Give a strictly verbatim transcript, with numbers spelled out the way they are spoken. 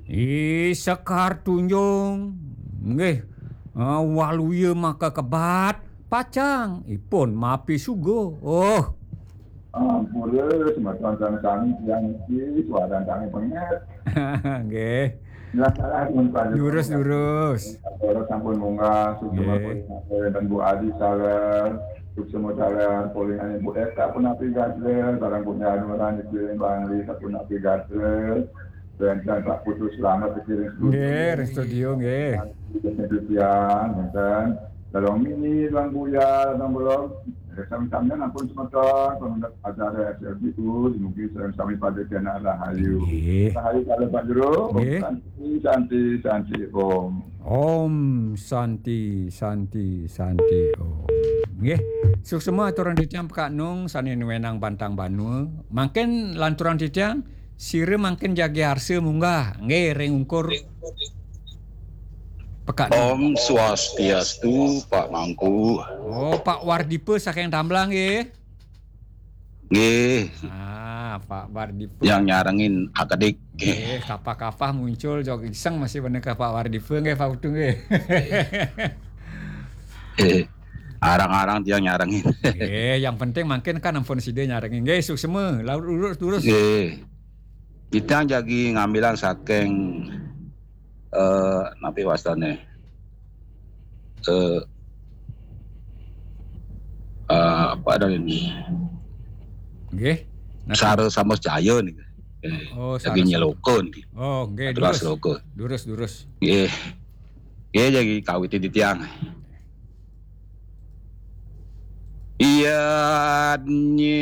Ih, Sekar Tunjung. Nggih. Ah, waluya maka kebat, pacang ipun mapi suga. Oh. Ampura, semeton sareng sami tiang niki, suaran sami penget. Nggih. Durus, durus. Sampun munggah, suksma. Nggih. Polih wénten Bu Adi sareng, suksma sareng, polih Bu Eka pun api gatra, sareng Bu Nyanuran niki Bangli sampun api gatra. Wénten Pak Putu Slamet pikiring studio. Nggih, ring studio, nggih. Tiang, wénten. Dalem mini, Tuan Buya, Tuan Belog. Sami-sami ampun semeton, peminat acara S L B U, mungkin sareng sami pada kena rahayu. Nggih. Rahayu kala Pak Jero, Om Nggih. Santi, Santi, Santi, Om. Om Santi, Santi, Santi, Om. Nggih, suksma aturang titiang Pekak Nung sané nuénang bantang banua. Mangkin lanturang titiang, sira mangkin jagi arsa munggah, nggih, ring ungkur Pekak Nung. Om Swastiastu, Pak Mangku. Oh, Pak Wardipa saking Tamblang, nggih. Nggih. Ah, Pak Wardipa. Yang nyarengin akedik. Nggih, kapah-kapah muncul jog iseng masih bener ka Pak Wardipa, nggih, Pak Putu, nggih. Eh, arang-arang tiang nyarengin. Nggih, yang penting mangkin kan ampun sida nyarengin. Nggih, suksma, laur urus terus. Nggih. Kita jagi ngambilang saking, eh, napi wastane? Eh, eh, apa ada ini? Nggih. Napi? Sara sama Jaya nih. Eh, Oh, lagi Sara sama. Nyeloka nih. Oh, nggih, Aturan durus. Seloka. Durus, durus. Nggih. Nggih, jagi kawitin titiang. Iya, nyi,